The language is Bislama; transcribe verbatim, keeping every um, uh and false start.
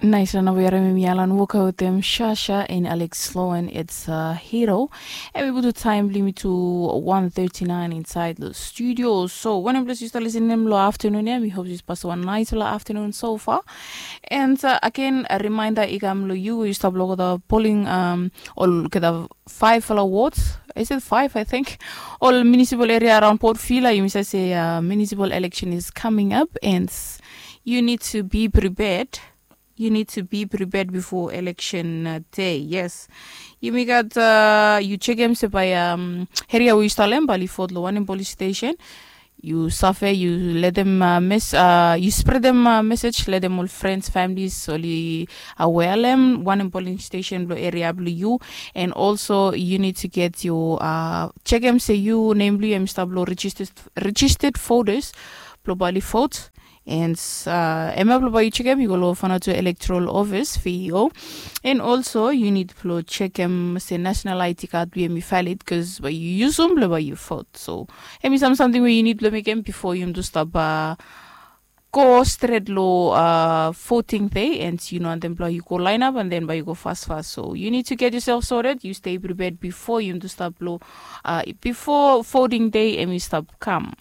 Nais, na nao bai harim hemi alan woka wetem Shasha and Alex Sloan, it's a hero. Hemi putum taem blong yumi to one thirty-nine inside the studio. So wanem ples yu stap lisenim long afternoon ya, mi hop yu stap pasem wan naisfala afternoon so far. And uh, again, a reminder i kam long yu, yu stap long olgeta polling, um, olgeta faefala wards. Is it five, I think? Ol municipal area around Port Vila, yumi save se uh, municipal election is coming up and you need to be prepared. You need to be prepared before election uh, day. Yes. Yumi gat uh, yu sekem se bae um, eria we yu stap long hem bae oli vote long wanem polling station. Yu save, yu letem uh, mes uh, yu spretem uh, message, letem ol friends, families oli aware long hem wanem polling station blong eria blong yu. And also you need to get your uh, sekem se yu nem blong yu hemi stap long registered, registered voters blong bae oli vote. And uh, hemia blong bae yu sekem, yu go long Vanuatu Electoral Office, V E O. And also you need blong sekem se national I D card blong yu hemi valid, bikos bae yu yusum blong bae yu vote. So hemi sam samting we yu need blong mekem bifo yumi tu stap uh, go stret long uh, voting day, and yu no wantem blong yu go line up and then bae yu go fasfas. So you need to get yourself sorted, yu stay prepared bifo yumi tu stap long uh, bifo voting day hemi stap kam.